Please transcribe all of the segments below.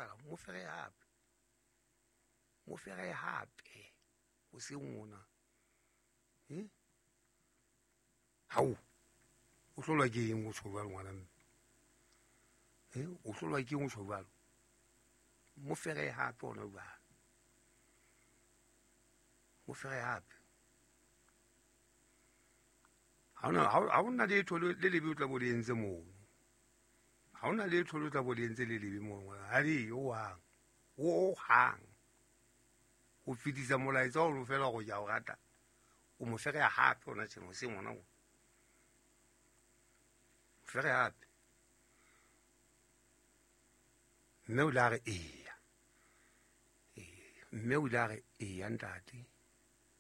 sala mo fere hape mo fere hape o se ngona hao o hlolwa ke eng o tjho jwalo ngwana mme o hlolwa ke eng o tjho jwalo mo fere hape ona jwalo mo fere hape ha ona letho le lebe o tla bo le entse mono ha ona letho le tla bo le entse le lebe mono ha le yo hang o hang o fetisa molaetsa o fela go ja o rata o mo fere hape ona tjena se ngwana o fere hape mme o la re eya mme o la re eya ntate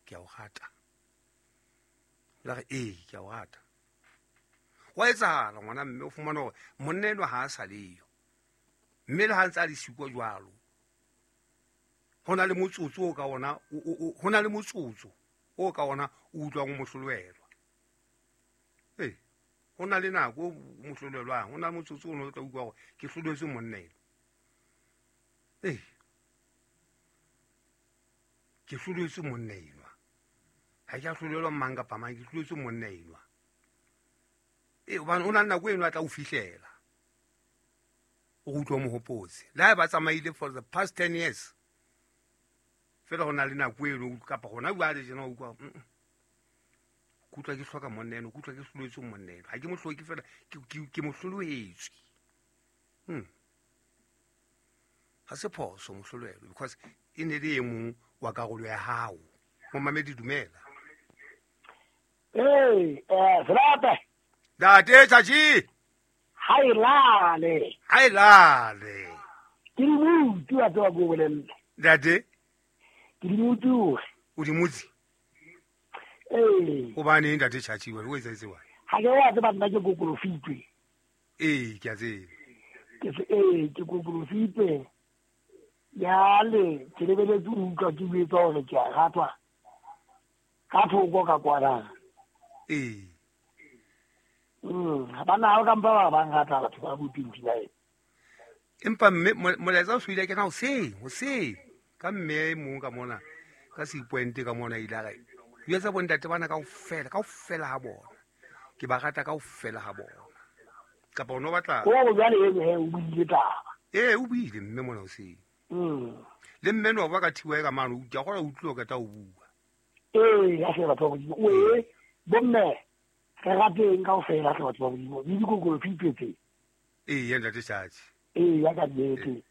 ke a o rata la re ee ke a o rata wa etsahala ngwana mme o fumana hore monna enwa ha a sa leyo mme le ha ntse a le siko jwalo ho na le motsotso o ka ona ho na le motsotso o ka ona o utlwang o mohlolelwa ho na le nako o mohlolelwang ho na le motsotso o no tla utlwa hore ke hloletswe monna enwa ke hloletswe monna enwa ha ke a hlolelwa mang kapa mang ke hloletswe monna enwa hobane o na le nako eno a tla o fihlela o utlwa mohopotse le ha ba tsamaile for the past 10 years fela ho na le nako eno kapa hona jwale tjena o utlwa ke utlwa ke hloka monna eno ke utlwa ke hloletswe monna eno ha ke mo hloke fela ke mo hlolohetswe ha se phoso mohlolelo because e ne le e mong wa karolo ya hao momamedi dumela Selape Ntate Tjatji ha e lale ha e lale ke di mutse wa tseba ko bolella ntate ke di mutse o di mutse hobane ntate Tjatji wena o etsetse wa ha ke wa tseba nna ke kokolofitwe ke a tseba ke se ke kokolofitwe yale ke lebeletse o utlwa ke buetsa hore ke a ratwa ka thoko ka kwana bana ha o ka mpa ba bang rata batho ba bo 29 empa mme molaetsa o suile ke na hoseng ka mme mong ka mona ka 6 point ka mona ile a re jwetsa bontate bana kaofela ha bona ke ba rata kaofela ha bona kapa o no batla o jwale o buile taba o buile mme mona hoseng le mme no ba ka thiwa ka mano o ka gora utlwa ka ta o bua ya se batho ba Modimo o bomme re rateng kaofela hle batho ba Modimo le dikokolo fitetse ya ntate Tjatji ya ka nnete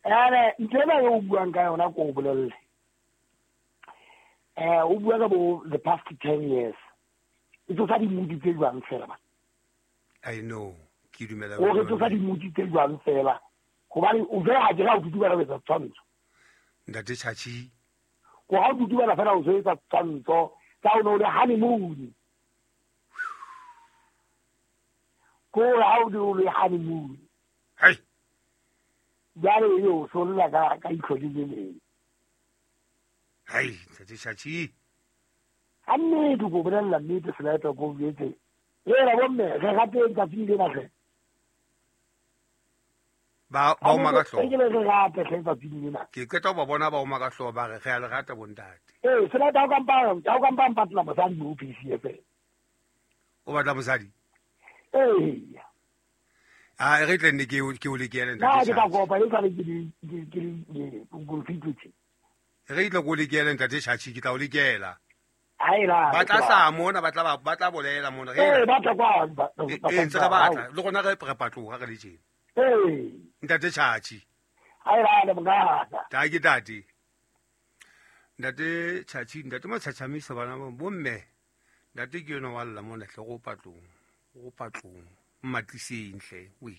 ene ntho ena e o buang ka yona ko o bolelle o bua ka bo the past 10 years e tsosa dimudi tse jwang fela ba I know ke dumela o re tsosa dimudi tse jwang fela hobane o jwale ha ke ra o tutubela ho etsa tshwantsho ntate Tjatji ko ha o tutubela fela o etsa tshwantsho tsa o ne o le honeymoon ko ha o le honeymoon hai jwale yo solla ka ihlo le leng hai ntate Tjatji ha nnete ko bolella nnete Selape ko jwetse ra bomme re rateng tsatsing lena hle ba oma ka hlooho ke re rate hle tsatsing lena ke qeta ba bona ba oma ka hlooho ba re re a le rata bontate Selape ha o ka mpa mpatla mosadi mo PCF o batla mosadi a re tle nne ke o lekele ntate ke tla kopa e sale ke ke re tle go lekele ntate Tjatji ke tla o lekela ba tla sa mona ba tla bolela mona re ba tla kwa ntse re batla le rona re patloga re le tjena ntate Tjatji ha e lale mongata ta ke tate ntate Tjatji ntate Matjhatjhamisa bana bomme ntate ke yona wa lla mona hle go patlong mmatliseng hle we